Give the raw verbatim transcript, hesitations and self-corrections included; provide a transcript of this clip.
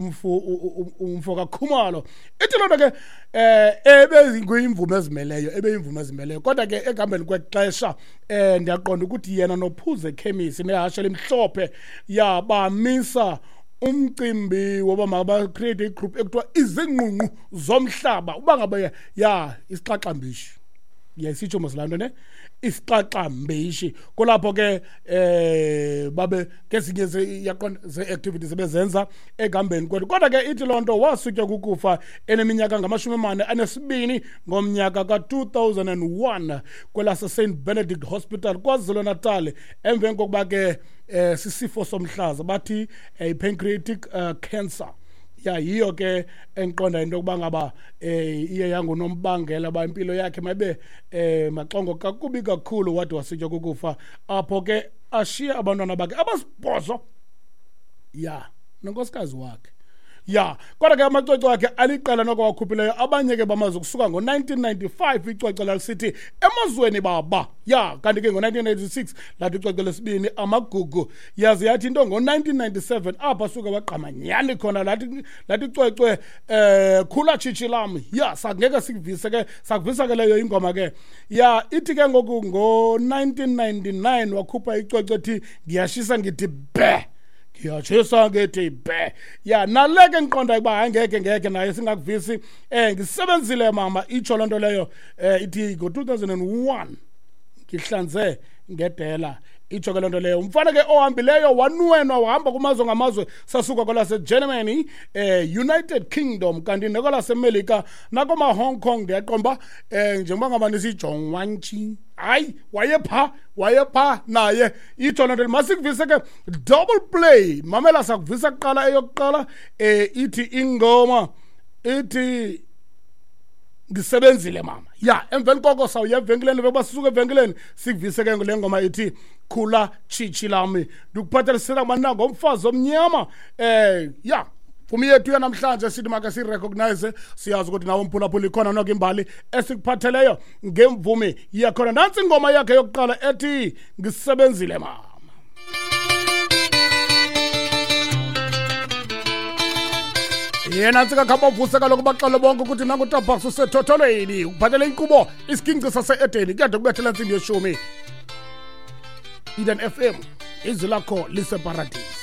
Umfo umfo kaKhumalo ithi loo nto ke eh ebeyimvume ezimeleyo ebeyimvume ezimeleyo kodwa ke ekuhambeni kwexesha eh ndiyaqonda ukuthi yena noPhuze Khemisi nehashe elimhlophe yabamisa umcimbi woba maba-create igroup ekuthiwa Izingqungqu Zomhlaba. Uba ngaba ya isixaxambishi yayisitsho mos laa nto ne isixaxambishi, kulapho ke eh babe kezinye yaqonda ze-activities ebezenza ekuhambeni kwethu. Kodwa ke ithi loo nto wasutywa kukufa eneminyaka ngamashumi amane anesibini ngomnyaka ka-two thousand and one kwelase-Saint Benedict Hospital KwaZulu-Natal, emveni kokuba ke eh sisifo somhlaza bathi i-pancreatic uh, cancer. Ya yiyo ke endiqonda into yokuba ngaba eh iye yangunombangela ba impilo yakhe mayibe eh maxongo kakubi kakhulu, wade wasitya kukufa apho ke ashiye abantwana bakhe abasibhozo ya nonkosikazi wakhe. Ya kodwa ke amacwecwe akhe aliqela noko wakhuphileyo, abanye ke bamazi kusuka ngo-nineteen ninety-five icwecwe lalisithi Emazweni Baba. Ya kanti ke ngo-nineteen ninety-six lathi icwecwe lesibini Amagugu. Yaze yathi into ngo-nineteen ninety-seven apha suke wagqama nyani khona lathi lathi icwecwe eh Khula Tshitshi Lam. Ya sangeke sikuvise ke sakuvisa ke leyo ingoma ke. Ya ithi ke ngoku ngo-nineteen ninety-nine wakhupha icwecwe ethi Ngiyashisa Ngithi Bhe. Ngiyashisa ngithi bhe. Ya naleke ngiqonda ukuba angeke ngeke naye singakuvisi eh ngisebenzile mama itsho loo nto leyo eh ithi ngo two thousand and one ngihlanze ngedela itsho ke loo nto leyo. Umfana ke ohambileyo wanwenwa wahamba kumazwe ngamazwe, sasuka kwelaseGermany eh United Kingdom kanti nakwelaseMelika nakoma Hong Kong ndiyaqonda eh njengoba ngaba nisijongwantshi hayi wayepha wayepha naye itsho loo nto. Masikuvise ke double play mamela, sakuvisa kuqala eyokuqala eh ithi ingoma ithi Ngisebenzile Mama. Ya emveni koko sawuya evenkileni bekuba sisuka evenkileni sikuvise ke le ngoma ithi Khula Tshitshi Lami. Ndikuphathelisela mna ngomfazi omnyama eh ya mvumi yethu yanamhlanje sithi make sirecognize, siyazi ukuthi nawe mphulaphula ikhona noko imbali esikuphatheleyo ngemvumi yakhona. Nantsi ingoma yakhe yokuqala ethi Ngisebenzile Mama. Yena ntsika khabavuse kaloku baxele bonke ukuthi nangu Tabaks usethotholweni ukuphathele inkqubo isiginci sase-Edeni kuyade kubethela intsimbi yeshumi. Eden F M izwi lakho liseparadisi.